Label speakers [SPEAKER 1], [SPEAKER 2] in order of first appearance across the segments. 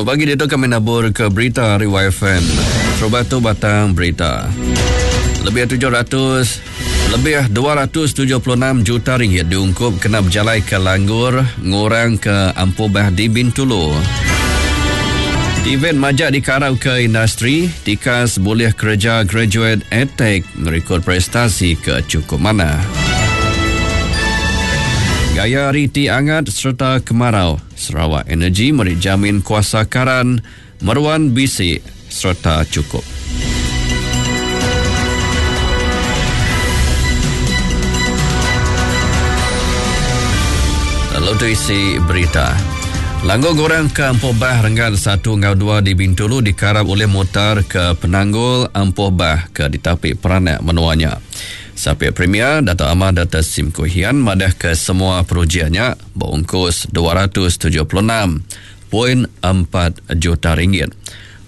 [SPEAKER 1] Selamat pagi ditu kami nabur ke berita ari YFM. Terubah tu batang berita. Lebih 700 lebih 276 juta ringgit diungkup kena bejalai ke langgur ngurang ke ampuh bah di Bintulu. Event majak dikarap ke industri, tikas bulih kereja graduate edtech ngerikod prestasi ke chukup manah. Gaya hari ti angat sereta kemarau, Sarawak Energy meri jamin kuasa karan meruan bisi sereta chukup. Lalu tu isi berita. Langgur goreng ke Empuh Bah renggat satu enggau dua di Bintulu dikarap ulih mutar ke penanggul Empuh Bah ke ditapi peranak menua nya. Sapit Premier Datuk Amar Doktor Sim Kui Hian madahka semua projek nya beungkus 276.4 juta ringgit.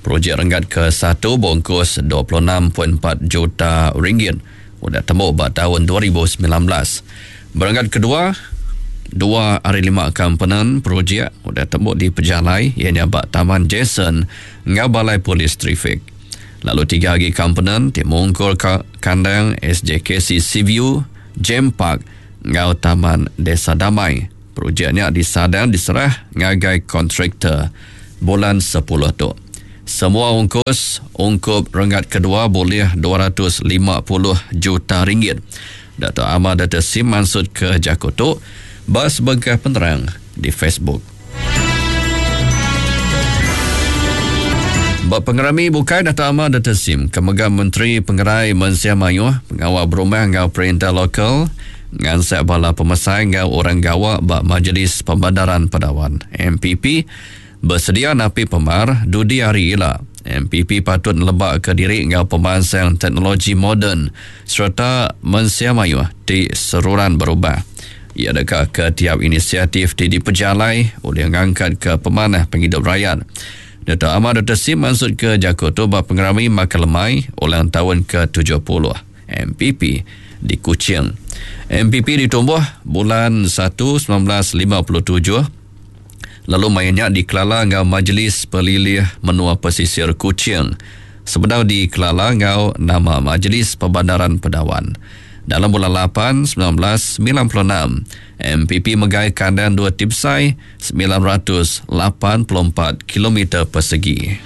[SPEAKER 1] Projek renggat ke satu beungkus 26.4 juta ringgit udah tembu ba taun 2019. Berenggat kedua, dua ari lima komponen projek udah tembu dipejalai iya nya ba Taman Jason enggau Balai Polis Trafik. Lalu tiga agi komponen ti mungkur ka kandang SJKC Seaview, Jem Park enggau Taman Desa Damai. Projek nya disadang diserah ngagai kontraktor bulan sepuluh tu. Semua ungkus ungkup renggat kedua bulih 250 juta ringgit. Datuk Amar Doktor Sim mansutka jaku tu ba sebengkah penerang di Facebook. Ba pengerami bukai Datuk Amar Doktor Sim ke mega Menteri Pengerai Mensia Mayuh, Pengawa Berumah enggau Perintah Lokal ngansak bala pemesai enggau orang gawa ba Majlis Pembandaran Padawan, MPP, Besedia napi pemar dudi hari ila, MPP patut nelebaka diri enggau pemansang teknologi moden sereta mensia mayuh ti seruran berubah. Iya deka ke tiap inisiatif ti dipejalai ulih ngangkatka pemanah pengidup rayat. Datuk Amar Doktor Sim mansutka jaku tu ba pengerami makai lemai ulang taun ke 70 MPP di Kuching. MPP ditumbuh bulan satu 1957. Lalu maya nya dikelala enggau Majlis Pelilih Menua Pesisir Kuching sebedau dikelala enggau nama Majlis Perbandaran Pedawan. Dalam bulan lapan 1996, MPP megai kandang dua ti besai 984 kilometer persegi.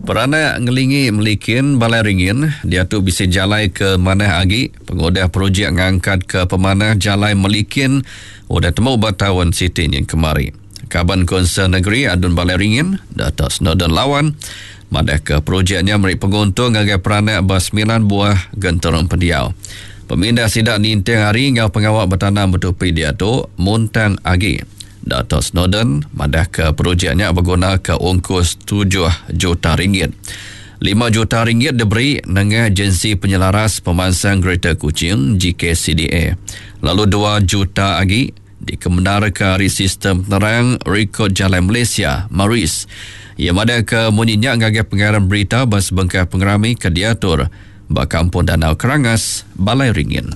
[SPEAKER 1] Peranak ngelingi Melikin Balai Ringin diatu bisi jalai ke manah agi pengudah projek ngangkatka pemanah jalai Melikin udah temu ba taun siti nyin kemari. Kaban Konsel Negeri Adun Balai Ringin, Dato Snowdan Lawan madahka projek nya meri penguntung ngagai peranak ba semilan buah genturung pendiau. Pemindah sida ninting hari enggau pengawa betanam betupi diatu muntang agi. Dato Snowdan madahka projek nya begunaka ungkus tujuh juta ringgit. Lima juta ringgit diberi nengah Agensi Penyelaras Pemansang Greater Kuching, GKCDA, lalu dua juta agi dikemendarka ari Sistem Penerang Rekod Jalai Malaysia, MARIS. Iya madahka munyi nya ngagai pengarang berita ba sebengkah pengerami ke diatur ba Kampung Danau Kerangas, Balai Ringin.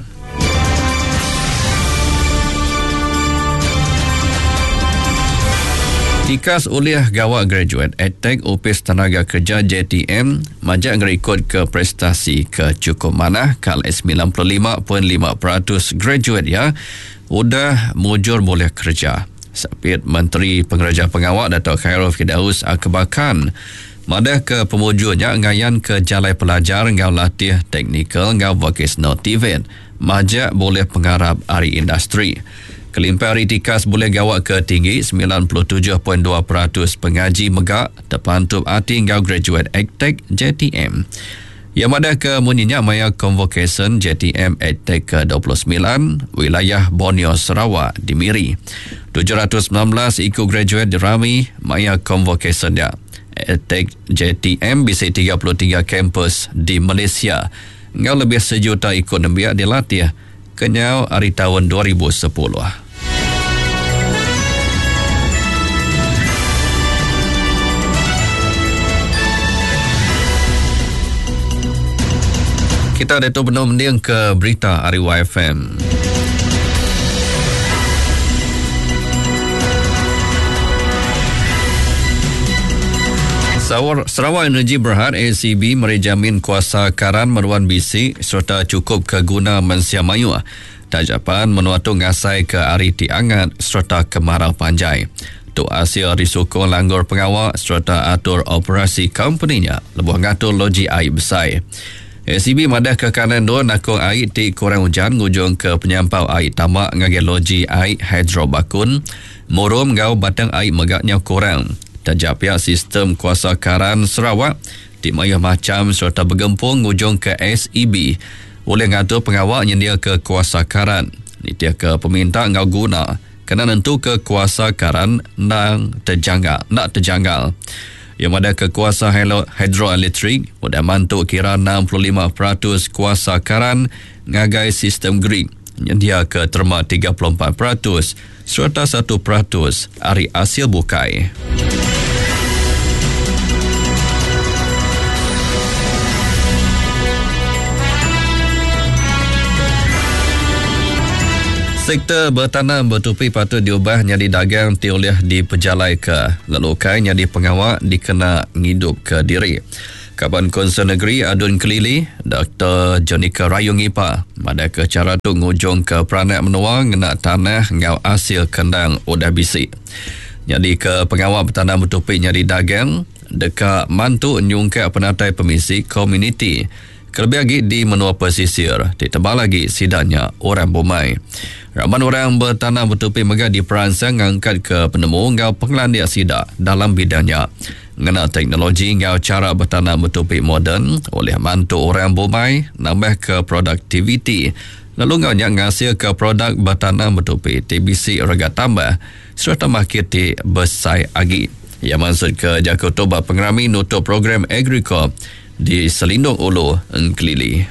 [SPEAKER 1] Tikas ulih gawa graduate Edtech Opis Tenaga Kerja JTM majak ngerikodka prestasi ke chukup manah kala 95.5% graduate iya udah mujur bulih kereja. Sapit Menteri Pengereja Pengawa Datuk Khairul Firdaus Akbar Khan Madahka pemujur nya ngayanka jalai pelajar enggau latih teknikal enggau vokasional TVET majak bulih pengarap ari industri. Kelimpah ari tikas bulih gawa ke tinggi, 97.2% pengaji mega tepantup ati enggau graduate ACTEC JTM. Iya madahka munyi nya maya konvokesyen JTM ACTEC ke 29 Wilayah Borneo Sarawak di Miri. 719 iku graduate dirami maya konvokesyen nya. ATEC JTM bisi 33 kampus di Malaysia enggau lebih sejuta iku nembiak dilatih kenyau ari taun 2010. Kita ditu benung mending ke berita ari YFM. Sarawak Energy Berhad ACB meri jamin kuasa karan meruan bisi sereta chukup ke guna mensia mayuh taja pan menua tu ngasaika hari ti angat sereta kemarau panjai. Tu asil ari sukung langgur pengawa sereta atur operasi kompeni nya lebuh ngatur loji ai besai. SEB madahka kanan endur nakung ai ti kurang ujan ngujungka penyampau ai tama ngagai loji ai hidro Bakun, Murum enggau Batang Ai mega nyau kurang. Taja pia sistem kuasa karan Sarawak ti mayuh macham sereta begempung ngujungka SEB ulih ngatur pengawa nyendiaka kuasa karan nitihka peminta enggau guna kena nentuka kuasa karan endang tejanggal enda tejanggal. Iya madahka kuasa hidroelektrik udah mantu kira 65% kuasa karan ngagai sistem grid nyendiaka terma 34% sereta 1% ari asil bukai. Sektor betanam betupi patut diubah nyadi dagang ti ulih dipejalaika lalu ukai nyadi pengawa dikena ngidupka diri. Kaban Kunsil Negeri Adun Kelili, Doktor Jonica Rayong Ngipa madahka chara tu ngujungka peranak menua ngena tanah enggau asil kendang udah bisi. Nyadika pengawa betanam betupi nyadi dagang deka mantu nyungkak penatai pemisi komuniti kelebih agi di menua pesisir ti tebal agi sida nya orang bumai. Raban orang betanam betupi mega diperansang ngangkatka penemu enggau pengelandik sida dalam bidang nya. Ngena teknologi enggau chara betanam betupi moden ulih mantu orang bumai nambahka produktiviti lalu enggau nya ngasilka produk betanam betupi ti bisi rega tambah sereta makit ti besai agi. Iya mansutka jaku tu ba pengerami nutup program Agricor di Selindong Ulu Engkelili.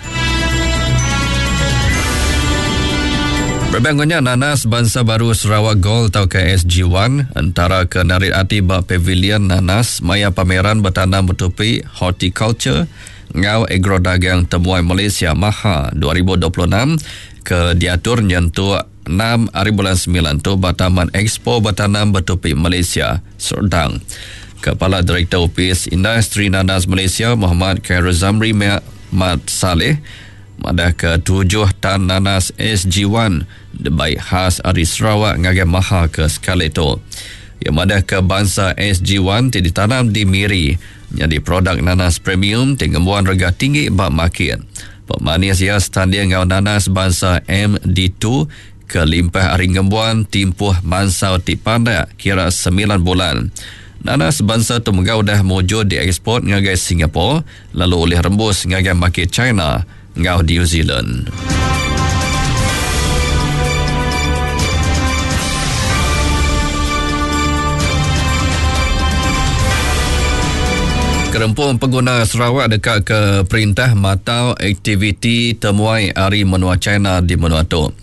[SPEAKER 1] Berebak enggau nya, nanas bansa baru Sarawak Gold tauka SG1 entara ke narit ati ba pavilion nanas maya pameran betanam betupi horticulture enggau agrodagang temuai Malaysia Maha 2026 ke diatur nyentuk enam ari bulan semilan tu ba Taman Expo Betanam Betupi Malaysia, Serdang. Kepala Direktor Opis Industri Nanas Malaysia Mohamad Khairul Zamri Mat Saleh madahka tujuh tan nanas SG1 dibai khas ari Sarawak ngagai Maha ke sekali tu. Iya madahka bansa SG1 ti ditanam di Miri nyadi produk nanas premium ti ngembuan rega tinggi ba makit. Pemanis iya setanding enggau nanas bansa MD2 ke limpah ari ngembuan timpuh mansau ti pandak kira semilan bulan. Nanas bansa tu mega udah mujur dieksport ngagai Singapore lalu ulih rembus ngagai makit China enggau New Zealand. Gerempung Pengguna Sarawak deka ke perintah matau aktiviti temuai ari menua China di menua tu.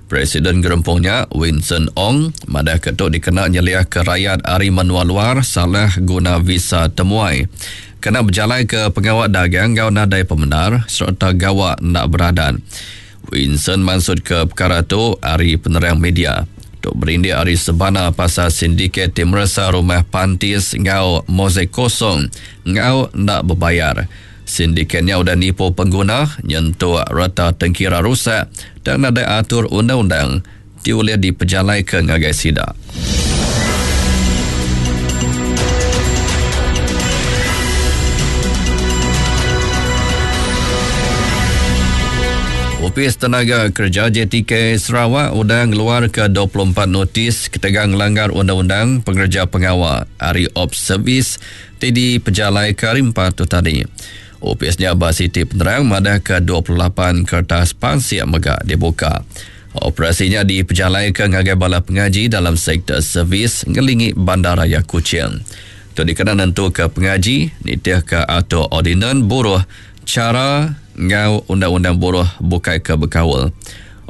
[SPEAKER 1] Presiden gerempung nya, Winson Ong, madahka tu dikena nyeliahka rayat ari menua luar salah guna visa temuai kena bejalaika pengawa dagang enggau nadai pemendar sereta gawa enda beradat. Winson mansutka pekara tu ari penerang media. Tu berindik ari sebana pasal sindiket ti meresa rumah pantis enggau mozaik kosong enggau enda bebayar. Sindiket nya udah nipu pengguna nyentuk reta tengkira rusak tang nadai atur undang-undang ti ulih dipejalaika ngagai sida. Opis Tenaga Kereja JTK Sarawak udah ngeluarka 24 notis ketegal ngelanggar undang-undang pengereja pengawa ari Ops Service ti dipejalaika hari Empat tu tadi. Opis nya ba siti penerang madahka 28 kertas pansik mega dibuka. Operasi nya dipejalaika ngagai bala pengaji dalam sektor servis ngelingi Bandaraya Kuching. Tu dikena nentuka pengaji nitihka atur ordinan buruh, chara enggau undang-undang buruh bukai ke bekaul.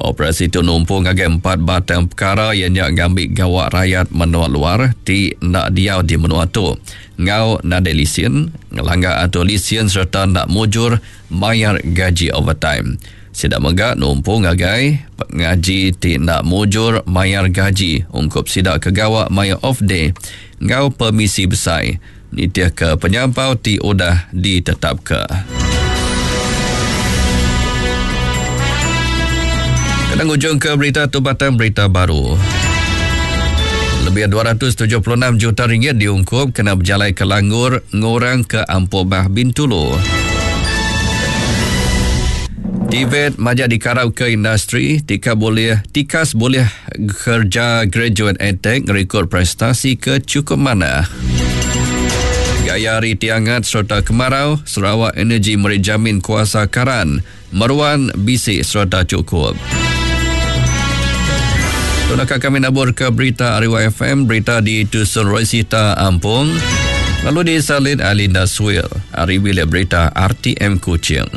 [SPEAKER 1] Operasi tu numpu ngagai empat batang pekara iya nya ngambi gawa rayat menua luar ti enda diau di menua tu enggau nadai lisin, ngelanggar atur lisin sereta enda mujur mayar gaji overtime. Sida mega numpu ngagai pengaji ti enda mujur mayar gaji ungkup sida ke gawa maya off day enggau pemisi besai nitihka penyampau ti udah ditetapka. Kena ngujungka berita tu batang berita baru. Lebih 276 juta ringgit diungkup kena bejalaika langgur ngurangka ampuh bah Bintulu. TVET majak dikarapka industri tika bulih tikas bulih kerja graduate edtech ngerikod prestasi ke chukup manah. Gaya hari ti angat sereta kemarau, Sarawak Energy meri jamin kuasa karan meruan bisi sereta chukup. Tu naka kami naburka berita ari YFM, berita di Tusun Rosita Ampung, lalu disalin Alinda Swil ari Bilik Berita RTM Kuching.